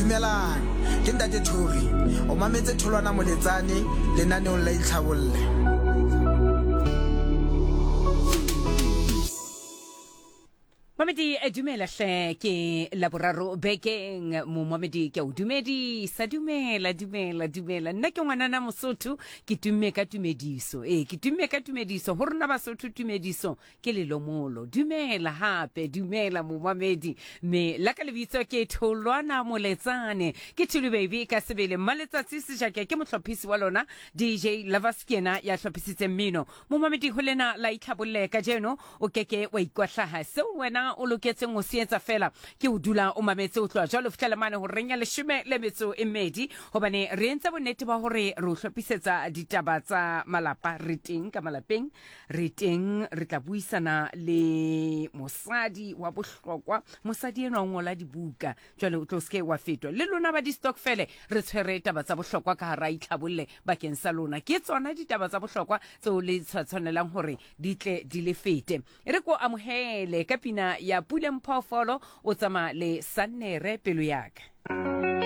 Dumelang, ke Ntate Thori. O mametse Tholwana Moletsane lenaneong la Itlhabolle. Mamedi eh, dumela hle ke laboraro bekeng momamedi ke a o dumedisa dumela dumela dumela nna ke ngwanana mosotho ke tumme ka tumediso ee ke tumme ka tumediso go rona basotho tumediso Ke lelomolo. Dumela hape, dumela momamedi. Me la ka lebitso ke Tholwana Moletsane. Ke Thulu Baby ka sebele. Mmaletsatsi Sejake ke mohlophisi wa lona. DJ Lovers ke yena ya hlophisitseng mmino. Momamedi ho lena la itlhabolle kajeno o keke wa ikwahlaha. Seo wena o loketseng ho se etsa feela ke ho dula o mametse ho tloha jwale ho fihlela mane horeng ya leshome le metso e mmedi hobane re entse bonnete ba hore re o hlophisetsa ditaba tsa malapa. Re teng ka malapeng. Re teng re tla buisana le mosadi wa bohlokwa. Mosadi enwa o ngola dibuka. Jwale o tlo seke wa fetwa. Le lona ba di-stokfele re tshwere taba tsa bohlokwa ka hara itlhabolle bakeng sa lona. Ke tsona ditaba tsa bohlokwa tseo le tshwanelang hore di tle di le fete. E re ko amohele ka pina ya Puleng Phoofolo o tsamaya le Sannere pelo yaka.